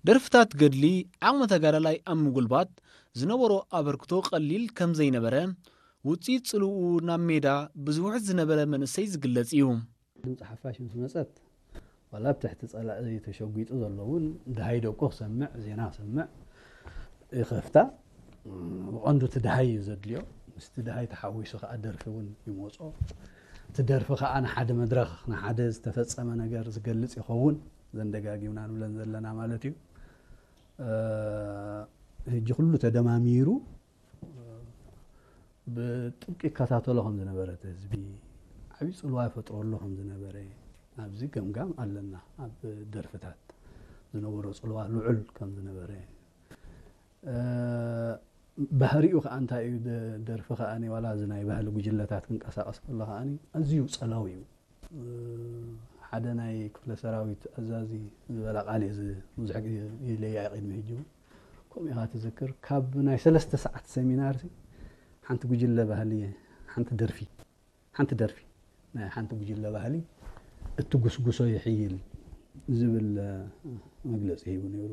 ደርፍታት ገድሊ ዓቕሚ ተጋዳላይ ኣብ ምጉልባት ዝነበሮ ኣበርክቶ ቀሊል ከም ዘይነበረ፣ ውፅኢት ፅልኡ ናብ ሜዳ ብዝውሕድ ዝነበረ መንእሰይ ዝግለጽ እዩ። ድምፂ ሓፋሽ ምስ መፀት፣ ዋላ ኣብ ትሕቲ ፀላኢ ተሸጒጡ ዘሎ እውን፣ ደሃይ ደቁ ክሰምዕ፣ ዜና ክሰምዕ ይኸፍታ። ብቐንዱ እቲ ደሃይ እዩ ዘድልዮ። ምስቲ ደሃይ ተሓዊሱ ከዓ ደርፊ እውን ይመፆ። እቲ ደርፊ ከዓ ንሓደ መድረኽ፣ ንሓደ ዝተፈፀመ ነገር ዝገልፅ ይኸውን። ዘን ደጋጊምና ንብለን ዘለና ማለት እዩ። እ፣ ሕጂ ኩሉ ተደማሚሩ፣ እ፣ ብጥብቂ ይከታተሎ ከም ዝነበረ እቲ ህዝቢ፣ ዓብዪ ፅልዋ ይፈጥረሉ ከም ዝነበረ፣ ኣብዚ ገምጋም ኣለና። ኣብ ደርፍታት ዝነበሮ ፅልዋ ልዑል ከም ዝነበረ፣ እ፣ ባህሪኡ ከዓ እንታይ እዩ? ደ-፣ ደርፊ ከዓ ዋላ እዚ ናይ ባህሊ ጉጅለታት ክንቀሳቀስ ከሎ ከዓ ኣዝዩ ፀላዊ እዩ። እ፣ ሓደ ናይ ክፍለ ሰራዊት ኣዛዚ ዝበላ ቃል እዩ፣ እዚ ብዙሕ ግዜ ይለያ ቅድሚ ሕጂ እውን። ከምኡ ኢኻ ትዝክር፣ ካብ ናይ ሰለስተ ሰዓት ሰሚናር ሲ ሓንቲ ጉጅለ ባህሊ፣ ሓንቲ ደርፊ፣ ሓንቲ ደርፊ ናይ ሓንቲ ጉጅለ ባህሊ እትጉስጉሶ ይሕይል ዝብል፣ እ፣ መግለፂ ሂቡ ነይሩ።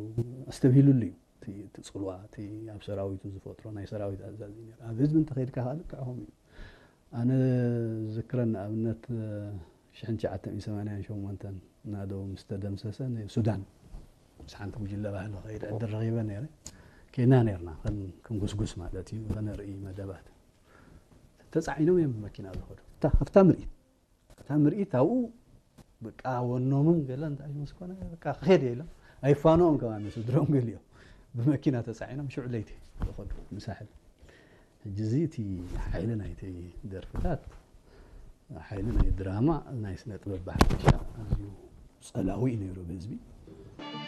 ኣስተብሂሉሉ እዩ። እቲ፣ እቲ ፅልዋ፣ እቲ ኣብ ሰራዊቱ ዝፈጥሮ ናይ ሰራዊት ኣዛዚ ነይሩ። ኣብ ህዝቢ እንተኸይድካ ከዓ ልክዕ ከምኡ እዩ። ኣነ ዝክረን ንኣብነት፣ እ፣ ሽሕን ትሽዓተ ሚእትን ሰማንያን ሸሞንተን ናደው ምስ ተደምሰሰ ንሱዳን ምስ ሓንቲ ጉጅለ ባህሊ ከይድ ዕድል ረኺበ ነይረ። ኬድና ነይርና ከም፣ ከም ጉስጉስ ማለት እዩ፣ ከነርኢ መደባት። ተጻዒኖም እዮም ብመኪና ዝኸዱ። እታ፣ ኣብታ ምርኢት፣ ኣብታ ምርኢት ኣብኡ በቃ ወኖምን ገለ እንታይ ምስ ኮነ በቃ ክኸድ እየ ኢሎም ኣይፋንኦም ከማን ስድሮም ገሊኦም ብመኪና ተጻዒኖም ሽዑ ለይቲ ዝኸዱ ንሳሕል። ሕጂ እዚ እቲ ሓይሊ ናይቲ ደርፍታት፣ ሓይሊ ናይ ድራማ፣ ናይ ስነ ጥበብ ብሓፈሻ ኣዝዩ ጸላዊ እዩ ነይሩ ብህዝቢ።